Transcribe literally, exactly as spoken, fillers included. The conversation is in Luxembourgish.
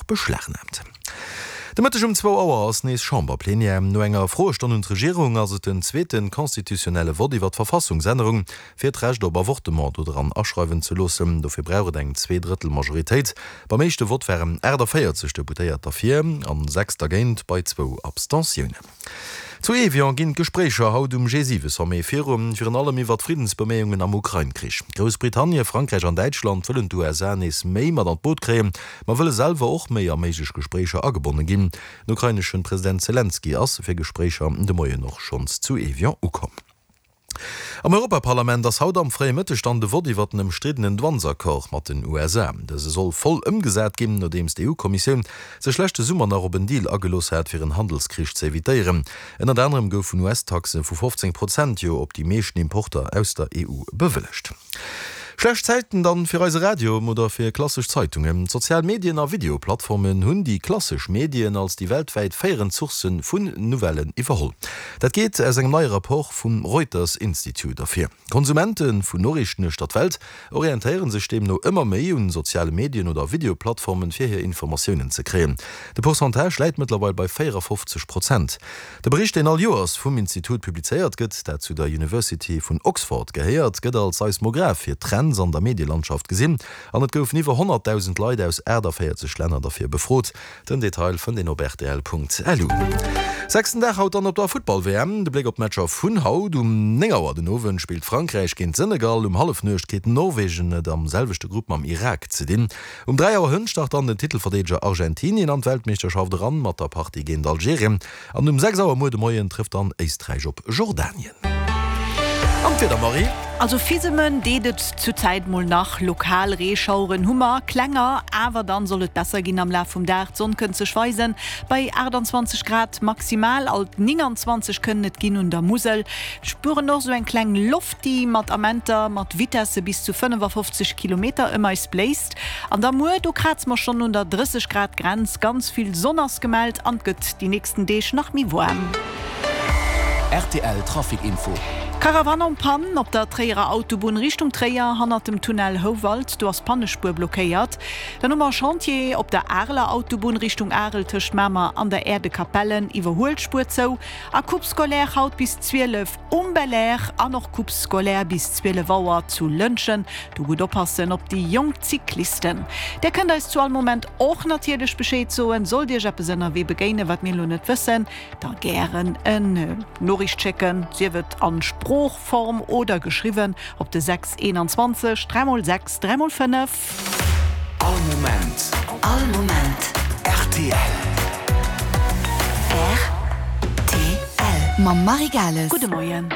och beschlagnaamt. De Mëtteg um zwou Auer ass nees Chamberplenière. No enger Froestonn un d'Regierung ass et den zweete constitutionnelle Vott iwwer d'Verfassungsännerung, fir d'Recht op Avortement do dran aschreiwen ze loossen. Dofir brauch et eng Zweedrëttel-Majoritéit. Beim éischte Vott waren aachtavéierzeg Deputéiert derfir an sechs dergéint, bei zwou Abstentiounen. Zu Evian ginn d'Gespréicher haut um G siwe Sommet virun, virun allem iwwer d'Friddensbeméiungen am Ukrain-Krich. Groussbritannien, Frankräich an Däitschland wëllen d'USA nees méi mat an d'Boot kréien, ma wëlle selwer och méi a méiglech Gespréicher agebonne ginn. Den ukraineschen President Selenskyj ass fir Gespréicher de Moien och schonns zu Evian ukomm. Am Europaparlament ass haut am fréie Mëtteg dann de Vott iwwer den ëmstriddenen Douanesaccord mat den U S A. Dëse soll voll ëmgesat ginn, nodeems d'E U-Kommissioun sech leschte Summer nach op en Deal agelooss hat, fir en Handelskrich ze evitéieren. Ënnert anerem goufen U S-Taxe vu fofzéng Prozent jo op déi meeschten Importer aus der E U bewëllegt. Schlecht Zäiten dann fir eise Radio oder fir klassesch Zeitungen. D'sozial Medien a Videoplattformen hunn déi klassesch Medien als déi weltwäit féierend Source vun Nouvellen iwwerholl. Dat geet aus engem neie Rapport vum Reuters Institute ervir. Konsumente vun Noriichten uechter d'Welt orientéiere sech deemno ëmmer méi un soziale Medien oder Videoplattformen, fir hir Informatiounen ze kréien. De Pourcentage läit mëttlerweil bei véierafofzeg Prozent. De Bericht, deen all Joers vum Institut publizéiert gëtt, dat zu der University vun Oxford gehéiert, gëtt als Seismograph fir Trends an der Medielandschaft gesinn an et goufen iwwer honnertdausend Leit aus aachtavéierzeg Länner derfir befrot. Den Detail fënnt een op rtl Punkt L U. Sechsten Dag haut dann op der Futtball-W M. De Bléck op d'Matcher vun haut: Um néng Auer den Owend spillt Frankräich géint Senegal, um Hallefnuecht kritt Norwegen et am selwechte Grupp mam Irak ze dinn. Um dräi Auer hënt start dann den Titelverdeedeger Argentinien an d'Weltmeeschterschaft eran mat der Partie géint Algerien an um sechs Auer muer de Moien trëfft dann Éisträich op Jordanien. An d'Wieder, Marie? Also fisemen deet et zur Zäit mol nach, lokal Reeschaueren hu mer, klenger, awer dann soll et besser ginn am Laf vum Dag. D'Sonn kënnt sech weisen bei aachtanzwanzeg Grad maximal, alt nénganzwanzeg kënnen et ginn un der Musel. Spueren och sou eng kleng Loft déi mat Amenter mat Vitesse bis zu fënnefafofzeg Kilometer ëm eis bléist. An da muer, do kraze mer schonn un der drësseg Grad Grenz, ganz vill Sonn ass gemellt an et gëtt déi nächsten Deeg nach méi waarm. R T L Trafic Info. Caravane en panne op der Tréierer Autobunn Richtung Tréier hannert dem Tunnel Houwald, do ass d'Pannespuer blockéiert. Dann hu mer e Chantier op der Areler Autobunn Richtung Arel tëscht Mamer an der Aire de Capellen, Iwwerhuelspuer zou. A Coupe scolaire haut bis zwielef um Belair an och Coupe scolaire bis zwielef Auer zu Lëntgen, do gutt oppassen op déi jonk Cyclisten. Där kënnt eis zu all Moment och natierlech Bescheed soen, sollt Iech eppes ënnerwee begéinen, wat mir elo net wëssen, da gären en Noriicht schécken, sief et an Sproochform oder geschriwwen, op de sechs eenanzwanzeg dräi mol sechs dräi mol fënnef. All Moment. All Moment. R T L. R T L. Mam Marie Gales. Gudde Moien.